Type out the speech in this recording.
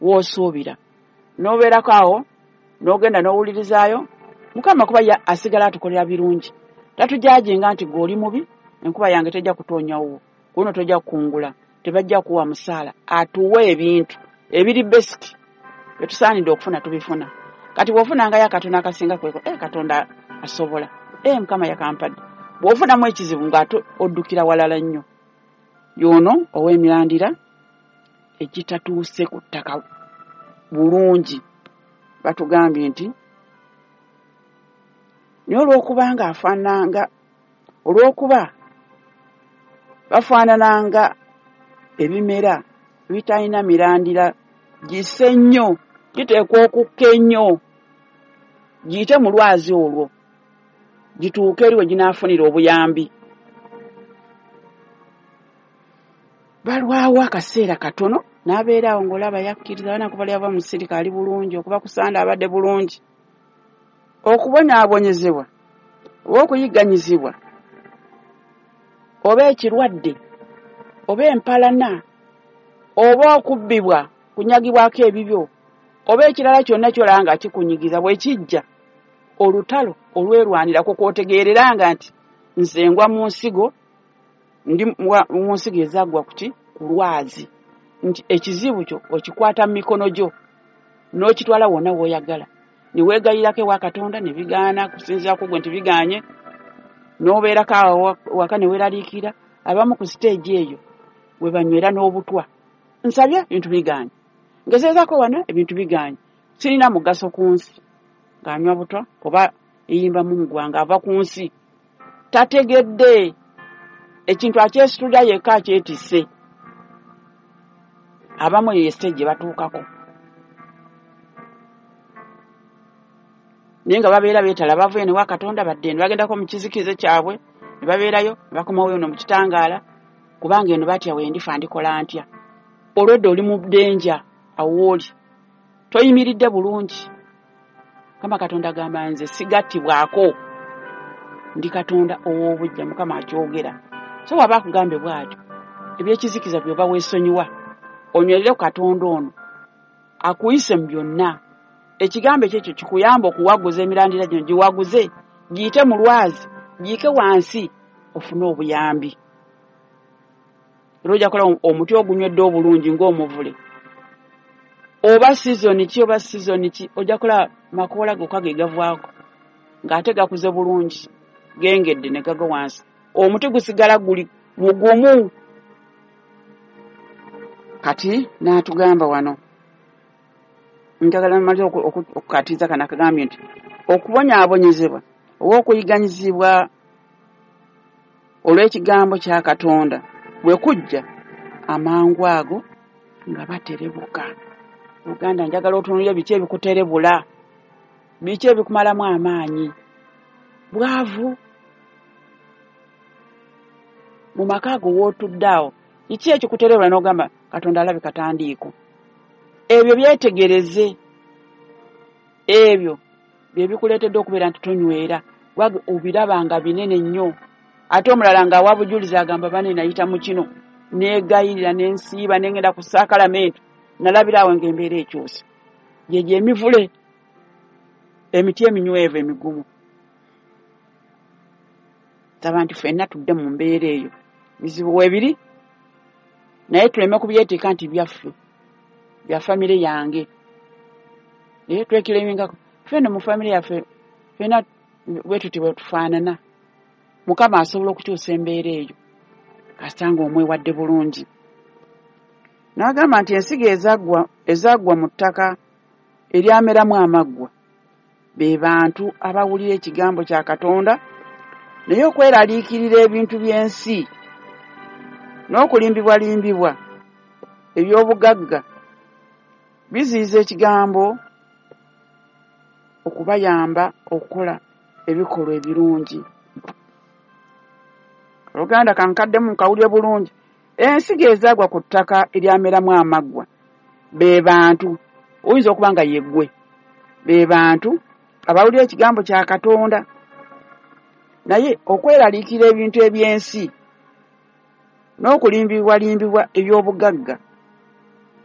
W'osuubira n'obeerako awo, n'ogenda n'owulirizaayo Mukama, kuba ye asigala atukolera birungi. Tatujajinga nti gwe oli mubi, enkuba yange tejja kutoonyawo, kuno tojja kukungula, tebajja kuwa musaala. Atuwa ebintu ebiri basic byetusaanidde okufuna, tubifuna. Kati bw'ofunangayo akatono akasinga kweko, Katonda asobola, Mukama yakampadde. Bw'ofunamu ekizibu ng'ate oddukira walala nnyo. Y'ono ow'emirandira egitatuuse ku ttaka bulungi, batugambye nti naye olw'okuba nga afaananga, olw'okuba bafaanananga ebimera ebitalina mirandira gisse nnyo, giteekwa okukka ennyo giyite mu lwazi olwo gituuke eri we ginaafunira obuyambi. Balwawo akaseera katono n'abeera awo ng'olaba yakkiriza bana kuba lyava mu sirika ali bulungi, okuva ku Sande abadde bulungi. Okubonyaabonyezebwa oba okuyigganyizibwa oba ekirwadde oba empalana oba okubbibwa, kunyagibwako ebibyo, oba ekirala kyonna ky'olaba nga kikunyigiza, bwe kijja olutalo olwerwanirako kw'otegeereranga nti nze ngwa mu nsigo, ndi mu nsigo ezaggwa kuki ku lwazi, nti ekizibu kyo okikwata mu mikono gyo n'okitwala wonna w'oyagala, ne weegayirako ewa Katonda ne bigaana, kusinziira ku gwe nti bigaanye, n'obeerako awo waka ne weeraliikirira. Abamu ku siteegi eyo we banywera n'obutwa, nsabye ebintu bigaanye, ngezezaako wano ebintu bigaanye, sirina mugaso ku nsi, ng'anywa butwa oba eyimba mumugwa ng'ava ku nsi, tategedde ekintu akyesitulira yekka, akyetisse. Abamu eyo ye siteegi gye batuukako, naye nga babeera beetala, bavuye ne wa Katonda, badde eno bagendako mu kizikize kyabwe ne babeerayo ne bakomawo eno mu kitangaala, kubanga eno batya, wendifa ndikola ntya? Olwedde oli mu ddenja, awo oli toyimiridde bulungi. Mukama Katonda agamba, nze sigattibwako, ndi Katonda ow'obuggya. Mukama akyogera. So waba akugambe bw'atyo, ebyekizikiza by'oba weesonyiwa, onywerere ku Katonda ono akuyise mu byonna. Ekigambo ekyo ekyo kikuyamba okuwaguza emirandira gino, giwaguze giyite mu lwazi, giyike wansi ofune obuyambi. Era ojja kulaba omuti ogunywedde obulungi ng'omuvule, oba season ki oba season ki, ojja kulaba makoola gokka ge gavaako ng'ate gakuze bulungi, gengedde ne gagwa wansi, omuti gusigala guli mugumu. Kati n'atugamba wano, njagala mmalire okukatiza kano akagambye nti okubonyaabonyezebwa oba okuyiganyizibwa olw'ekigambo kya Katonda bwe kujja, amangu ago nga baterebuka. Uganda, njagala otunuulire biki ebikuterebula, biki ebikumalamu amaanyi. Bwavu mu maka ago wootudde awo, kiki ekikuterebula n'ogamba Katonda alabika tandiiko? Ebyo byetegereze, ebyo bye bikuleetedde okubeera nti tonywera, wage obiraba nga binene nnyo. Ate omulala ng'awa bujulizi agamba, bane nayita mu kino, neegayirira, nensiiba, nengenda ku saakalamenti, nalabira awo ng'embeera ekyuse. Gyegyo emivule, emiti eminywevu emigumu. Saba nti ffenna tudde mu mbeera eyo. Bizibu weebiri, naye tuleme kubyeteeka nti byaffe, bya famire yange. Naye twekiremingako ffenno mu famire yaffe, ffenna bwe tuti bwe tufaanana. Mukama asobola okukyusa embeera eyo kasita ng'omwewadde bulungi. N'agamba nti ensigo ezaggwa mu ttaka eryameramu amaggwa be bantu abawulira ekigambo kya Katonda, naye okweraliikirira ebintu by'ensi n'okulimbibwalimbibwa eby'obugagga biziyiza ekigambo okubayamba okukola ebikolwa ebirungi. Oluganda kankaddemu nkawulire bulungi. Ensigo ezaagwa ku ttaka eryameramu amaggwa be bantu, oyinza okuba nga yeggwe, be bantu abawulira ekigambo kya Katonda, naye okweraliikirira ebintu eby'ensi n'okulimbibwalimbibwa eby'obugagga